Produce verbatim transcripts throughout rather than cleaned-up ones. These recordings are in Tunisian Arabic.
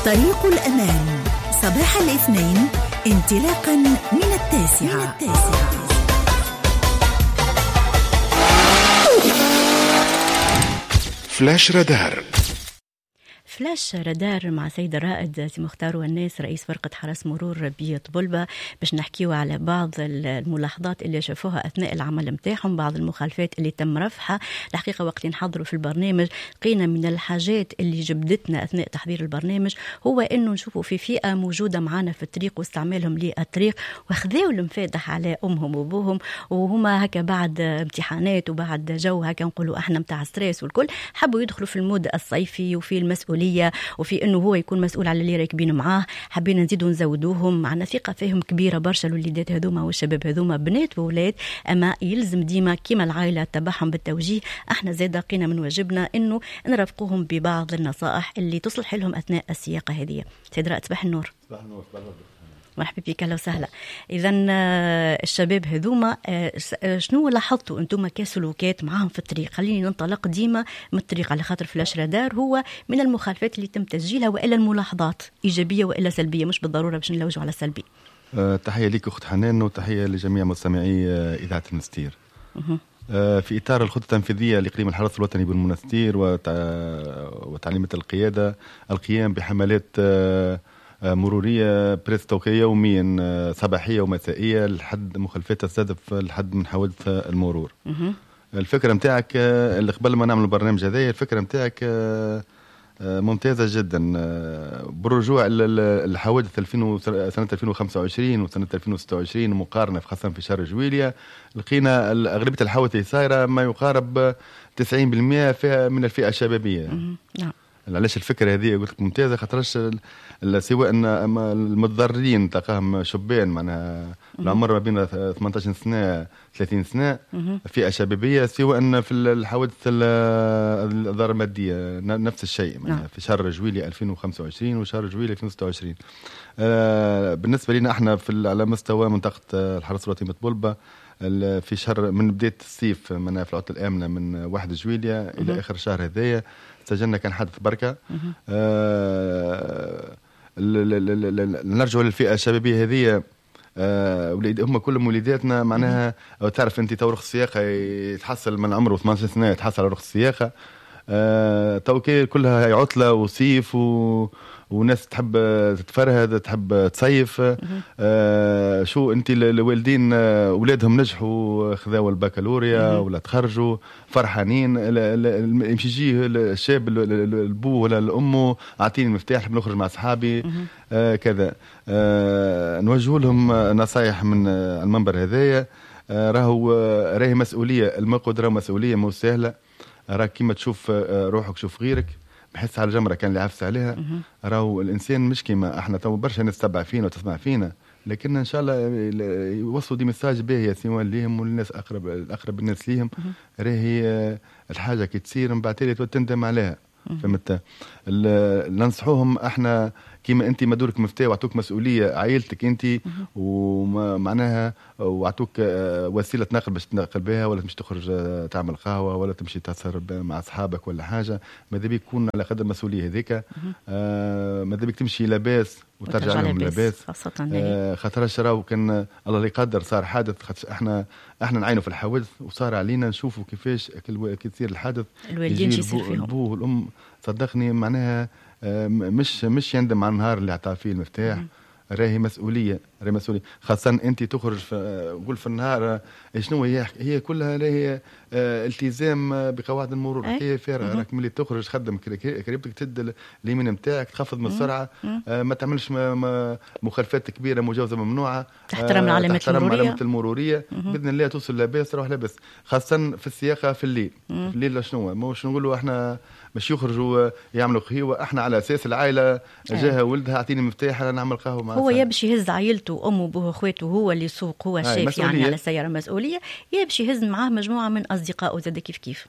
طريق الأمان، صباح الاثنين انطلاقا من التاسعة. من التاسعة. فلاش رادار. فلاش رادار مع سيد الرائد سي مختار والناس رئيس فرقة حرس مرور بطبلبة، باش نحكيو على بعض الملاحظات اللي شافوها أثناء العمل متاعهم، بعض المخالفات اللي تم رفعها. الحقيقة وقت نحضروا في البرنامج لقينا من الحاجات اللي جبدتنا أثناء تحضير البرنامج هو أنه نشوفوا في فئة موجودة معانا في الطريق واستعمالهم للطريق وخذاو المفاتح على أمهم وأبوهم، وهما هكا بعد امتحانات وبعد جو هكا نقولوا احنا متاع stress والكل، حبوا يدخلوا في ال mode الصيفي وفي المسؤولية وفي انه هو يكون مسؤول على اللي راكبين معاه. حبينا نزيدوا نزودوهم، معنا ثقة فيهم كبيرة برشا الوليدات هذوما والشباب هذوما، بنات وولاد، اما يلزم ديما كيما العائلة تبعهم بالتوجيه، احنا زاد قينا من واجبنا انه نرافقوهم ببعض النصائح اللي تصلح لهم اثناء السياقه هذه. سيد رائد صباح النور. صباح النور. صباح النور. مرحبا بك، اهلا وسهلا. اذا الشباب هذوما شنو لاحظتوا انتم كسلوكات معاهم في الطريق؟ خليني ننطلق ديما من الطريق على خاطر فلاش رادار هو من المخالفات اللي تم تسجيلها والا الملاحظات ايجابية والا سلبية، مش بالضرورة باش نلوجوا على السلبي. أه تحية لك اخت حنان وتحية لجميع مستمعي اذاعة المنستير. أه في اطار الخطة التنفيذية لاقليم الحرس الوطني بالمنستير وتعليمه القيادة، القيام بحملات أه مرورية presque يوميا صباحية ومسائية لحد مخالفات تستهدف الحد من حوادث المرور. الفكرة متاعك اللي قبل ما نعمل البرنامج هذايا، الفكرة متاعك ممتازة جدا بالرجوع للحوادث سنة ألفين وخمسة وعشرين وسنة ألفين وستة وعشرين مقارنة خاصة في شهر جويليا، لقينا أغلبية الحوادث اللي صايرة ما يقارب تسعين بالمئة فيها من الفئة الشبابية. نعم. علاش الفكرة هذه قلت لك ممتازة؟ خاطرش سواء ان المتضررين تلقاهم شبان معناها العمر ما بين ثمانية عشر سنة ثلاثين سنة، فئة شبابية، سواء في الحوادث الاضرار المادية نفس الشيء معناها في شهر جويلي ألفين وخمسة وعشرين وشهر جويلي ألفين وستة وعشرين. بالنسبة لنا احنا في على مستوى منطقة الحرس الوطني بطبلبة، في شهر من بداية الصيف معناها في العطلة الامنة من واحد جويليا الى اخر شهر هذايا سجلنا كان حادث بركة. آه نرجع للفئه الشبابية هذه، آه هم كلهم وليداتنا معناها. تعرف انت تو رخص السياقه يتحصل من عمره ثمانية عشر سنة يتحصل على رخص السياقه. آه تو كلها عطله وصيف و وناس تحب تتفرهد تحب تصيف. آه شو انت الوالدين اولادهم نجحوا خذاوا البكالوريا ولا تخرجوا فرحانين، يمشي يجيه الشاب البو ولا الام اعطيني المفتاح بنخرج مع اصحابي آه كذا. آه نوجه لهم نصايح من المنبر هذايا، آه راهو راهي مسؤولية، المقود راهو مسؤولية مو سهلة، راك كيما تشوف روحك شوف غيرك، بحس على الجمرة كان اللي عفس عليها. راهو الانسان مش كيما احنا تو برشا ناس تتبع فينا وتسمع فينا، لكن ان شاء الله يوصلوا des messages باهيه سواء ليهم والناس اقرب الاقرب الناس ليهم. راهي الحاجة كي تصير من بعد تالي تندم عليها، فهمت؟ ننصحوهم احنا كيما انت مدورك مفتاح وعطوك مسؤولية عائلتك انت ومعناها وعطوك وسيلة نقل باش تنقل بها، ولا تمشي تخرج تعمل قهوة ولا تمشي تسهر مع اصحابك ولا حاجة، ماذا بيك تكون على قدر المسؤولية هذيك. آه ماذا بيك تمشي لاباس وترجع لهم لاباس، خاصة آه خاطرش راهو كان الله لا يقدر صار حادث، خاطر احنا احنا نعينوا في الحوادث وصار علينا نشوفوا كيفاش كي تصير الحادث الوالدين شو يصير فيهم، البو والام صدقني معناها مش مش يندم على النهار اللي عطاه فيه المفتاح. راهي مسؤولية، راهي مسؤولية، خاصة انت تخرج في قول في النهار شنو هي هي كلها راهي التزام بقواعد المرور، هي فارغة. راك ملي تخرج تخدم كريبتك تد اليمين نتاعك، تخفض من السرعة، ما تعملش مخالفات كبيرة مجاوزة ممنوعة، تحترم العلامات تحترم العلامات المرورية باذن الله توصل لاباس تروح لاباس، خاصة في السياقه في الليل. في الليل شنو مش نقولوا احنا مش يخرجوا يعملوا قهوة، احنا على اساس العائلة جاها ولدها اعطيني مفتاح انا نعمل قهوة مع هو يا باش يهز عائلته وامه وابوه واخواته هو اللي يسوق هو الشيف يعني على السيارة مسؤولية، يا باش يهز معاه مجموعة من اصدقائه زاد كيف كيف.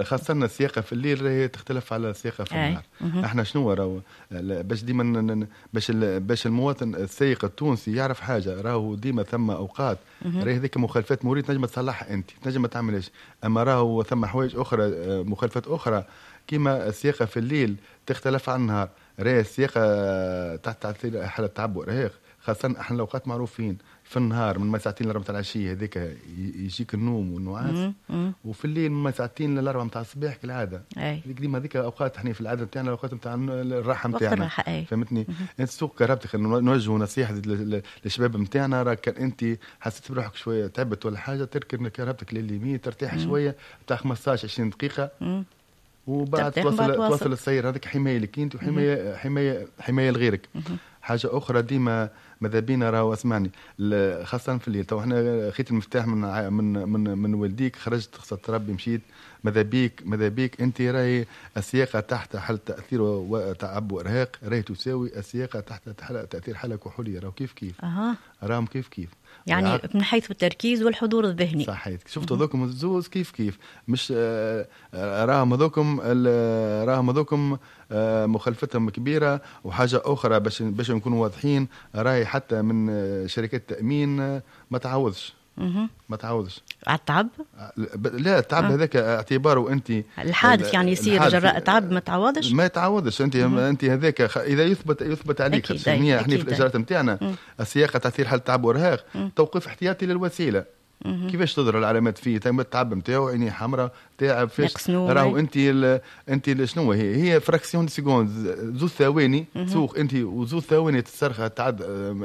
خاصة السياقه في الليل هي تختلف على السياقه في النهار. احنا شنو راهو باش ديما باش باش المواطن السائق التونسي يعرف حاجة، راهو ديما ثم اوقات راهي هذيك مخالفات مروريه تنجم تصلحها انت، تنجم ما تعملهاش، اما راهو ثم حوايج اخرى مخالفات اخرى كيما السياقه في الليل تختلف عن النهار. راهي السياقه تحت تاثير حاله تعب وارهاق، خاصة احنا الاوقات معروفين في النهار من ما ساعتين لأربعة نتاع العشية هذيك يجيك النوم والنعاس، وفي الليل من ما ساعتين لأربعة نتاع الصباح كالعادة. هذيك ديما هذيك اوقات احنا في العادة نتاعنا الاوقات نتاع الراحة نتاعنا، فهمتني؟ انت تسوق كرهبتك، نوجهوا نصيحة للشباب نتاعنا، راك كان انت حسيت بروحك شوية تعبت ولا حاجة تركب كرهبتك لليمين ترتاح شوية بتاع خمسطاش عشرين دقيقة، وبعد توصل توصل السير. هذيك حماية لك انت وحماية حماية حماية لغيرك. حاجة اخرى ديما ماذا بينا راهو اسمعني، خاصة في الليل تو احنا خيت المفتاح من من من من والديك، خرجت خصت ربي مشيت، ماذا بيك ماذا بيك انت راهي السياقه تحت حاله تاثير وتعب وارهاق راهي تساوي السياقه تحت تاثير حاله كحوليه، راهو كيف كيف. أه. راهم كيف كيف يعني من حيث التركيز والحضور الذهني. صحيح، شفت هذوكم الزوز كيف كيف، مش راهم هذوكم راهم هذوكم مخالفتهم كبيرة. وحاجه اخرى باش باش نكونوا واضحين، راهي حتى من شركات التامين ما تعوضش ما تعوضش على التعب. لا التعب آه. هذاك اعتباره انت الحادث يعني يصير جراء تعب ما تعوضش، ما تعوضش انت. مم. انت هذاك اذا يثبت يثبت عليك احنا في الاجراءات نتاعنا السياقه تاثير حاله تعب وارهاق، توقيف احتياطي للوسيله. مم. كيفاش تظهر العلامات فيه؟ تم التعب نتاعو، عينيه حمراء، تعب فيش، راهو انت ال... انت شنو هي؟ هي fraction de seconde، زوج ثواني تسوق انت وزوج ثواني تسترخى تعد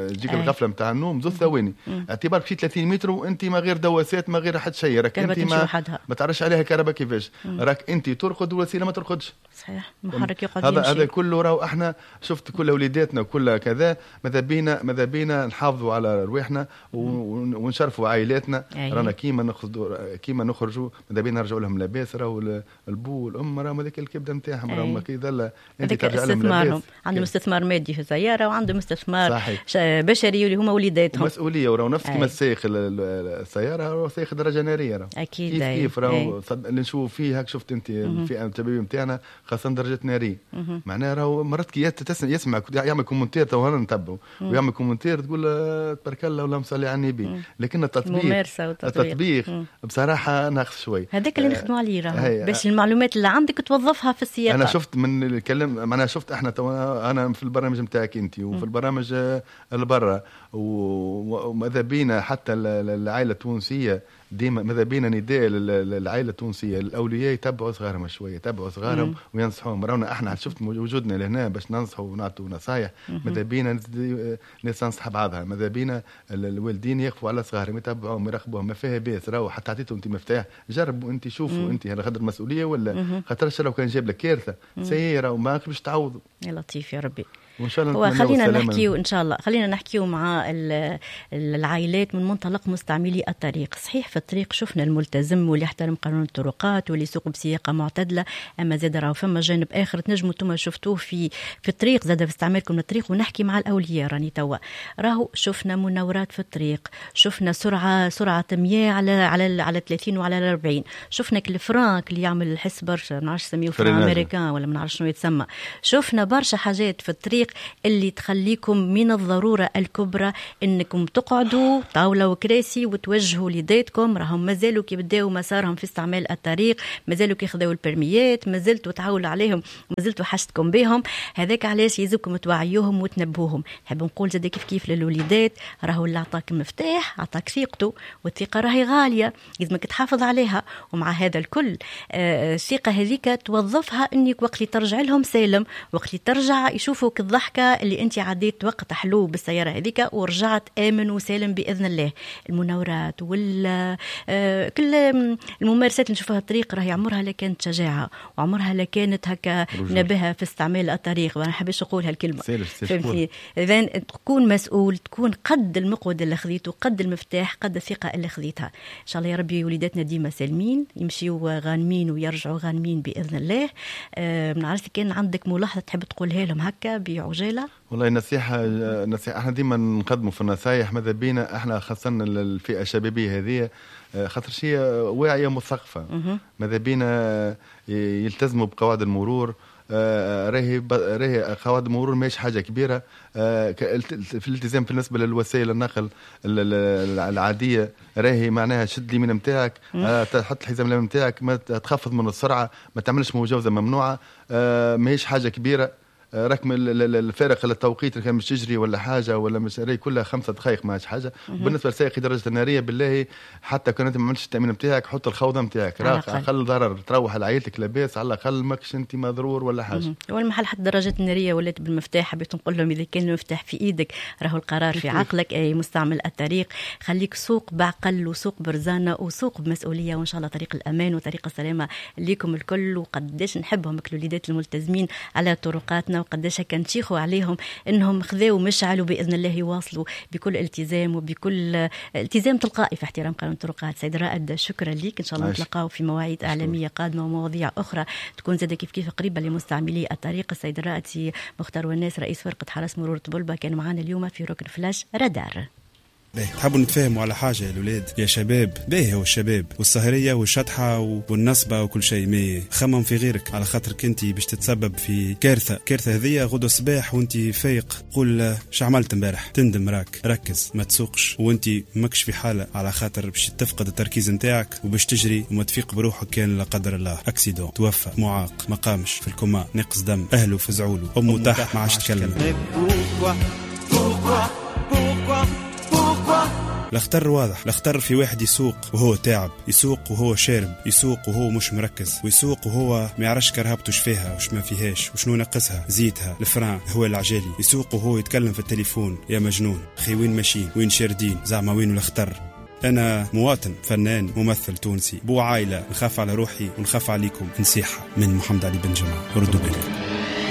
تجيك الغفلة نتاع النوم، زوج ثواني اعتبار مشيت ثلاثين متر وانت ما غير دواسات ما غير حد شيء، راك انت ما, ما تعرفش عليها كهرباء كيفاش، راك انت ترقد والوسيلة ما ترقدش. صحيح، المحرك يقعد هذا هذا كله راهو احنا شفت كل وليداتنا وكل كذا، ماذا بينا ماذا بينا نحافظوا على رواحنا ونشرفوا عائلاتنا. رانا كيما نخرجوا كيما نخرجوا ماذا بينا نرجعوا لهم لاباس، راهو البو والام راهم هذاك الكبده نتاعهم، راهم كي ظل انت ترجع لهم لاباس. عندهم استثمار مادي في السيارة وعندهم استثمار بشري اللي هما وليداتهم، مسؤولية. وراهو نفس كيما السائق السيارة راهو سائق درجه نارية، راهو اكيد كيف كيف راهو اللي نشوفوا فيه هاك. شفت انت الفئة الشبابية نتاعنا خاصة درجه نارية، معناها راهو مرات كي يسمع يعمل commentaire تو انا نتبعه ويعمل commentaire تقول تبارك الله ولا مصلي على النبي، لكن التطبيق التطبيق بصراحة ناقص شوي. هذاك اللي نخدموا عليه راهو باش المعلومات اللي عندك توظفها في السياقه. انا شفت من اللي كلم، معناها شفت احنا تو انا في البرنامج نتاعك انت وفي البرامج اللي برا، وماذا بينا حتى العائلة التونسية ديما ماذا بينا نداء للعائلة التونسية، الاولياء يتبعوا صغارهم شوية، يتبعوا صغارهم وينصحوهم. رانا احنا شفت وجودنا لهنا باش ننصحوا ونعطوا نصايح، ماذا بينا ناس تنصح بعضها، ماذا بينا الوالدين يقفوا على صغارهم يتبعوهم يراقبوهم، ما فيها باس. راهو حتى عطيتهم انت مفتاح، جربوا انت شوفوا انت هل خاطر المسؤولية ولا خاطر لو كان جاب لك كارثة سيارة وما باش تعوضوا. يا لطيف يا ربي. وان شاء الله خلينا نحكيو ان شاء الله خلينا نحكيو مع العائلات من منطلق مستعملي الطريق. صحيح في الطريق شفنا الملتزم واللي يحترم قانون الطرقات واللي يسوق بسياقه معتدلة، اما زاد راهو فما جانب اخر تنجموا انتم شفتوه في في الطريق زاد في استعمالكم للطريق. ونحكي مع الاولياء راني توا راهو شفنا مناورات في الطريق، شفنا سرعة سرعة مية على على على ثلاثين وعلى أربعين، شفنا ال frein اللي يعمل الحس برشا، ما نعرفش سميه frein américain ولا ما نعرفش شنو يتسمى، شفنا برشا حاجات في الطريق اللي تخليكم من الضرورة الكبرى انكم تقعدوا طاولة وكراسي وتوجهوا لذاتكم. راهم مازالوا كي بداوا مسارهم في استعمال الطريق، مازالوا كي خذوا البرميات، مازلتوا تعاولوا عليهم، مازلتوا حاجتكم بهم. هذاك علاش يلزمكم توعيوهم وتنبهوهم. نحب نقول زاد كيف كيف للوليدات، راهو اللي عطاك مفتاح عطاك ثقته، والثقة راهي غالية لازمك تحافظ عليها. ومع هذا الكل الثقة هذيك توظفها انك وقت اللي ترجع لهم سالم، وقت اللي ترجع يشوفوك الضحكة اللي انت عديت وقت حلو بالسيارة هذيك ورجعت آمن وسالم بإذن الله. المناورات وال كل الممارسات اللي نشوفها الطريق راهي عمرها لا كانت شجاعة وعمرها لا كانت هكا نبهة في استعمال الطريق، وانا حبيش نقول هالكلمة. فهمتني؟ إذن تكون مسؤول، تكون قد المقود اللي خذيته، قد المفتاح، قد الثقة اللي خذيتها. إن شاء الله يا ربي وليداتنا ديما سالمين، يمشيوا غانمين ويرجعوا غانمين بإذن الله. أه نعرف كان عندك ملاحظة تحب تقولها لهم هكا بعجالة؟ والله النصيحة نصيحة احنا ديما نقدموا في النصايح، ماذا بينا احنا خاصة الفئة الشبابية هذه خاطر شيء واعية مثقفة، ماذا بينا يلتزموا بقواعد المرور. آه، راهي راهي قواعد المرور ماهيش حاجة كبيرة. آه، في الالتزام بالنسبة للوسائل النقل العادية راهي معناها شد اليمين نتاعك، آه، تحط الحزام الامامي نتاعك، ما تخفض من السرعة، ما تعملش مجاوزة ممنوعة، ماهيش حاجة كبيرة. راك الفارق التوقيت اللي كان مش تجري ولا حاجة ولا مش راهي كلها خمسة دقائق ماهيش حاجة. بالنسبة لسائقي درجه النارية بالله حتى كان انت ما عملتش التامين نتاعك حط الخوذه نتاعك، راك اقل ضرر تروح لعائلتك لاباس، على الاقل ماكش انت مضرور ولا حاجة. والمحل حتى الدراجات النارية ولات بالمفتاح، حبيت نقول لهم اذا كان المفتاح في ايدك راهو القرار في عقلك، اي مستعمل الطريق خليك سوق بعقل وسوق برزانه وسوق بمسؤولية، وان شاء الله طريق الامان وطريق السلامة ليكم الكل. وقداش نحبهم الوليدات الملتزمين على طرقاتنا، وقداش هكا نشيخوا عليهم انهم خذاو مشعل وباذن الله يواصلوا بكل التزام وبكل التزام تلقائي في احترام قانون الطرقات. سيد رائد شكرا لك، ان شاء الله نتلاقاو في مواعيد اعلامية قادمة ومواضيع اخرى تكون زاده كيف كيف قريبه لمستعملي الطريق. السيد الرائد مختار والناس رئيس فرقه حرس مرور طبلبة كان معنا اليوم في ركن فلاش رادار. باهي تحبوا نتفاهموا على حاجة يا الأولاد يا شباب؟ باهي هو الشباب والسهرية والشطحة والنصبة وكل شيء، mais خمم في غيرك على خاطرك انت باش تتسبب في كارثة. كارثة هذية غدوة الصباح وانت فايق قول شو عملت امبارح، تندم. راك ركز ما تسوقش وانت ماكش في حالة، على خاطر باش تفقد التركيز نتاعك وباش تجري وما تفيق بروحك كان لا قدر الله accident، توفى، معاق، ما قامش، في الكوما، نقص دم، اهله فزعوله، امه تحت ما عادش تكلم. الخطر واضح، الخطر في واحد يسوق وهو تعب، يسوق وهو شارب، يسوق وهو مش مركز، ويسوق وهو ما يعرفش كرهبته وش فيها وش ما فيهاش وشنو نقصها، زيتها، ال frein، هو العجالي، يسوق وهو يتكلم في التليفون. يا مجنون خي وين ماشيين وين شاردين زعما وين الخطر؟ أنا مواطن فنان ممثل تونسي بو عائلة، نخاف على روحي ونخاف عليكم. نصيحة من محمد علي بن جمعة، ردوا بالكم.